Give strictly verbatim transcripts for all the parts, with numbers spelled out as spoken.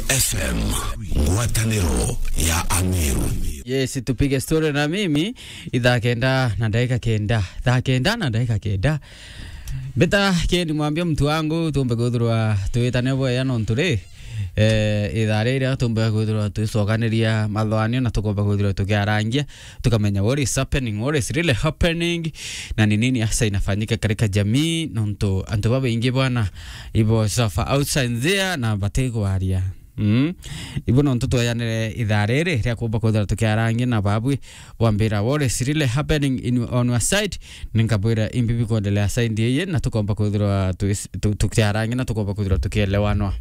F M, ngwataniro ya Ameru. Yes, tupige story na mimi. Ithaa kenda na dakika kenda. Thaa kenda na dakika kenda. Mbita Ken Mwambia, mtu wangu, tumbe kwithirwa twitane bwega nontu ri, eh, ithaa riri tumbe kwithirwa twisokaniria mathoanio na tukomba kwithirwa tukiarangia, tukamenya what is happening, what is really happening, na ni nini hasa inafanyika katika jamii, nontu antu babaingi bwana ibo suffer outside there na batigwaria. Mm. Ibo nontu tweyanire ithaa riri ria kumba kwithirwa tukiarangia na babwi, bwambira what is really happening in, on your side, ninkabwira imbi bikuendelea side iyi, na tukomba kwithirwa tu-, tu-, tukiarangia na tukomba kwithirwa tukielewanwa.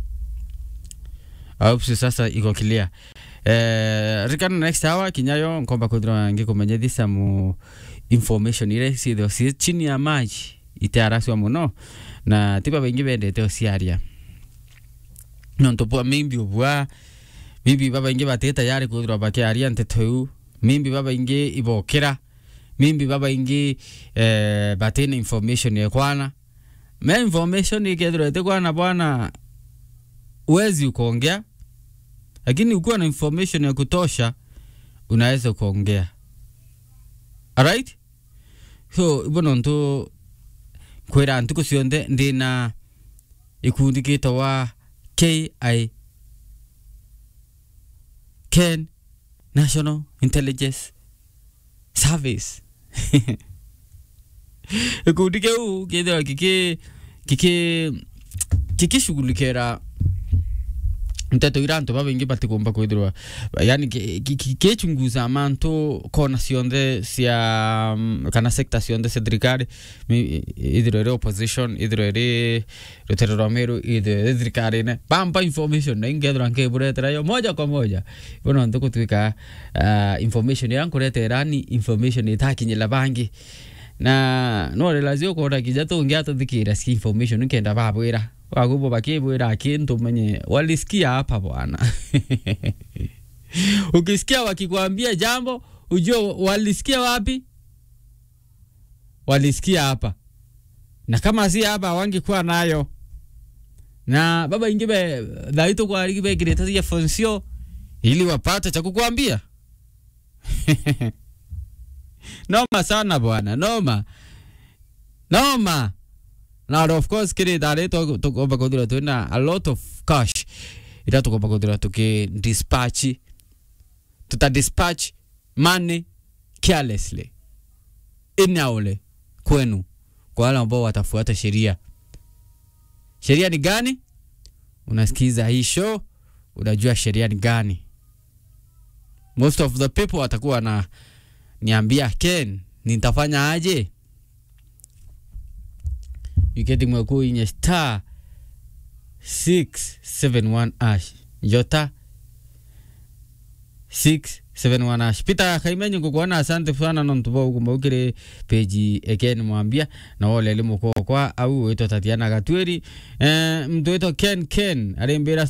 I hope sasa iko clear. Eh, rikana next hour, kinya yo nkomba kwithirwa ngikumenyithia some information iria ciithirwa ci chini ya maji, itiaracua muno, na ti babaingi bendete uciaria. Nontu bwa maybe ubwa, maybe babaingi bati tayari kwithirwa bakiaria nteto iu, maybe babaingi ibokira, maybe babaingi, eh, batina information ya kwana. Me information ikethirwa iti kwana bwana, huwezi ukaongea, lakini ukiwa na information ya kutosha, unaweza ukaongea. Alright? So, ibo nontu nkwira ntuku cionthe ndina ikundi gitawa K I, Ken National Intelligence Service. Gikundi kiu kithirwa giki-, giki-, gikishughulikira nteto iria antu babaingi batikumba kwithirwa, yani, ki-, ki-, ki-, kichunguza mantu kona cionthe cia, mm, kana sector cionthe cia thirikari, mi-, ithirwe iri opposition, ithirwe iri rutere rwa Meru, ithirwe iri thirikarine. Bamba information, na ingethirwa nkiburetera yo moja kwa moja. Ibo nontu gutwika, ah, information iria nkuretera ni information itakinyira bangi. Na no realize ukona kinya tungi atuthikira cia information nkenda babwira. Wagubo bakibwira kintu umenye walisikia hapa bwana. Ukisikia wakikwambia jambo, ujue walisikia wapi? Walisikia hapa. Na kama si hapa, hawangekuwa nayo. Na babaingi be, thaa hii tukwarigi bekirite earphones cio ili wapate cha kukwambia. Noma sana bwana, noma. Noma. Na of course, kiri thaa riri tu-, tukomba kwithirwa twina a lot of cash iria tukomba kwithirwa tuki dispatch. Tuta dispatch money carelessly. Inaole kwenu, kwa wale ambao watafuata sheria. Sheria ni gani? Unasikiza hii show, unajua sheria ni gani. Most of the people watakuwa na niambia, "Ken, nitafanya aje?" Iketi mwe kuinye star six seven one hash. Jota six seven one hash. Peter Kaimenyi, ngukwona, asante sana nontu bwa uguma ukiri page ekeni mwambia, na wole limu kwa au witwa Tatiana Gatwiri. Eh, mtu witwa Ken Ken, arimbira